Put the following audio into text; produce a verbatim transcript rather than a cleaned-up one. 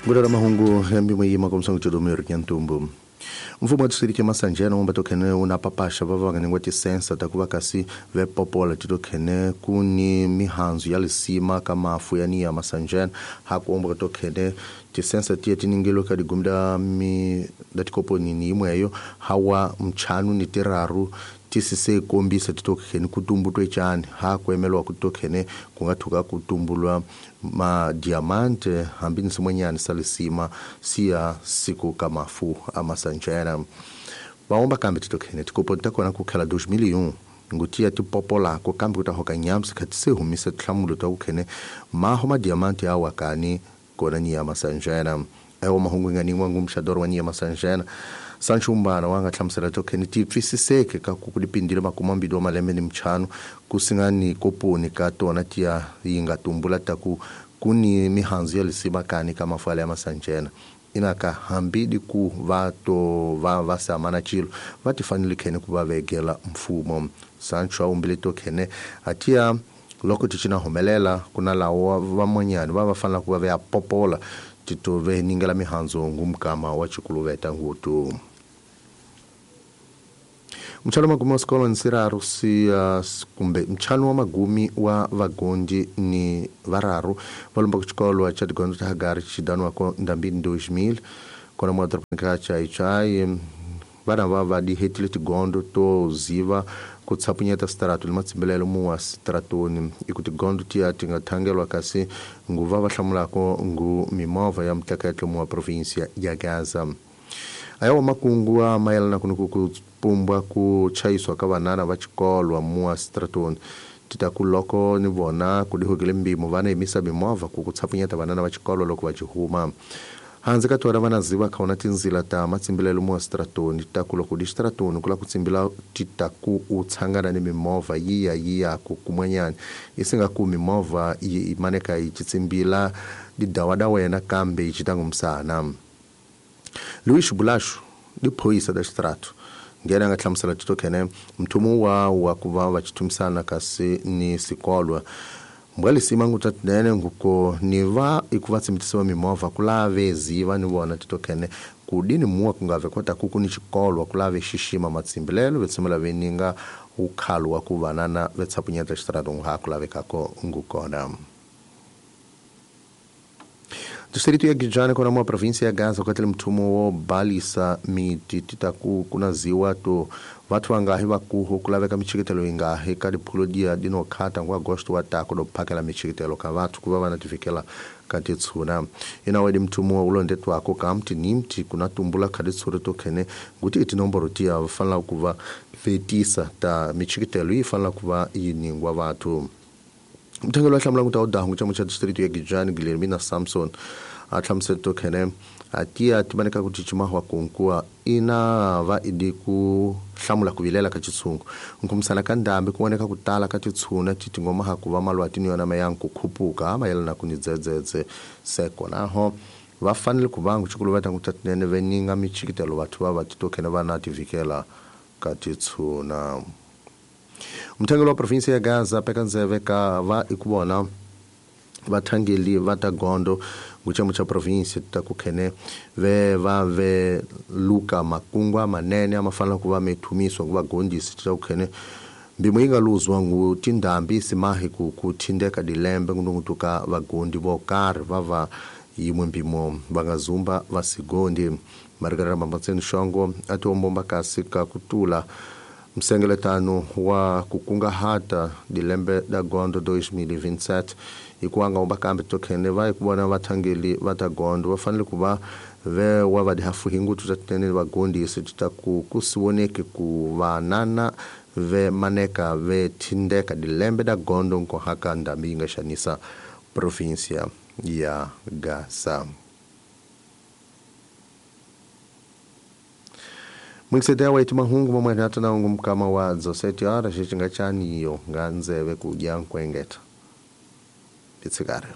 Ngulera mahungu ya mbimo yima komsongo chodomero nyantumbu. Mfumo wa distrito ya Masanjena umba tokhene una papasha va va nga tisensa ta kuva kasi ve popola titokhene kuni mihanzu ya lisima ka mafu ya niya Masanjena ha kuomba tokhene tisensa tiye tiningelo ka digumda mi datikoponi ni imweyo hawa mchanu ni tiraru tisise kombisa titokhene kutumbutwe chani ha kuemelwa kutokhene kungathuka kutumbulwa ma diamante hambini simwenyani salisima siya siku kamafu amasanjena vaomba kambe titokhene tikopo takona kukhala dois mil e um ngutia tipopola ko kambe kutahoka nyamsi khati se humisa thlamulo ta kukhene maho ma diamante awa kani kona ni amasanjena ewo mahungu ngani ngwangu mshadoro wa ni amasanjena Sanchumbana wanga hlamusela tokhene tipfisiseke ka ku kulipindile makumambili wa malembe ni mchano kusingani koponi ka tona tiya yinga tumbula taku kuni mihanzu ya lisima kani kama fale ya Masanjena inaka hambidi ku vato va vasamana chilo vatifanile khene kuva vegela mfumo Sancho aumbile tokhene atia loko tichina humelela kuna lawa vamonyani va vafanela kuva veya popola titove ningela mihanzo ngumkama wa chikuluveta ngutu. Mchano magumi wa sikolo nsiraru si uh, kumbe mchano wa magumi wa vagondi ni vararu valumba kuchikolo cha digondo ta Hagari chidanwa ko ndambini dois mil kona mwa dropa cha ichai vana va va dihetile tigondo to ziva kutsapunyeta strato limatsimbelelo muwa stratoni ikuti gondo tiya tingathangelwa kasi nguva va hlamulako ngu mimovha ya mtleketlo muwa provinsia ya Gaza. Ayawa makungu a mayelana kunuku kupumbwa ku chayiswa ka vanana va xikolwa muwa stratoni titaku loko ni vona ku dihokile mbimo vana yimisa mimovha ku kutsapunyeta vanana va xikolwa loko va xihuma. Hanze ka tona vana ziva kaona tinzila ta matsimbilelo muwa stratoni titaku loko di stratoni kula kutsimbila titaku utsangana ni mimovha yiya yiya ku kumanyana isinga ku mimovha yi maneka yi tsimbila didawada wena kambe yi chitangumsana. Luis Bulashu di phoyisa da strato ngena nga hlamusela titokhene mthumu wa wa kuva va chitumisana kasi ni sikolwa mbwalisima ngutatinene nguko ni va ikuva tsimitisiwa mimovha kulave ziva ni vona titokhene kudini muwa kungave kota kuku ni xikolwa kulave xixima matsimbilelo vetshemela veninga ukhalo wa ku vanana vetsapunyeta xitrato ha kulavekako ngukona. Distrito ya Gijane kona mwa provinsia ya Gaza wakati mthumo wo balisa miti titaku kuna ziwa to vathu vangahi vakuho kulaveka michikitelo ingahi ka diphulo dia dinokhata ngwa agosto wa tako do phakela michikitelo ka vathu kuva vana tifikela ka titshuna ina wedi mthumo ulondetwako ka mti ni mti kuna tumbula kha ditshure tokhene nguti itinomboro tiya vafanela kuva vetisa ta michikitelo yi fanela kuva yi ningwa vathu. Mthengelo wa hlamula nguta udahu cha mucha distrito ya Gijani Guilhermina Samson a hlamusela tokhene atia timaneka ku chichima wa kunkua ina va idi ku hlamula ku vilela ka chitsungu nkumisana ka ndambi ku voneka ku tala ka titshuna titingoma ha ku va malwati ni yona mayanku khupuka mayelana ku ni dzedzedze seko naho va fanele ku vangu chikuluveta ngutatinene veninga michikitelo vathu va va titokhene va na tivikela ka titshuna. Mthengelo wa provinsia ya Gaza pekanzeve ka va ikubona vathangeli va ta gondo nguchamo cha provinsia ta kukhene ve va ve luka makungwa manene amafanela kuva methumiswa nguva gondisi ta kukhene mbimo yi nga luzwa ngu tindhambi simahi ku kuthindeka dilembe ngunungutuka vagondi vo karhi va va yimwe mpimo va nga zumba va sigondi. Margarita Mamatseni Shongo a tiombomba kasi ka kutula msengeletano wa kukungahata dilembe da gondo dois mil e vinte e sete ikuanga omba kambe tokhene va ikubona vathangeli va ta gondo va fanele ku va ve wa va dihafu hingutu ta tinene vagondisi ta ku kusivoneke ku vanana ve maneka ve thindeka dilembe da gondo nkohaka ndambi yi nga xanisa provinsia ya Gaza. Mwingisetea wa itima hungu mamwe na ungu mkama wa zoseti ara shichinga chaniyo nga nzeve kujia nkwengeta. Pitsikare.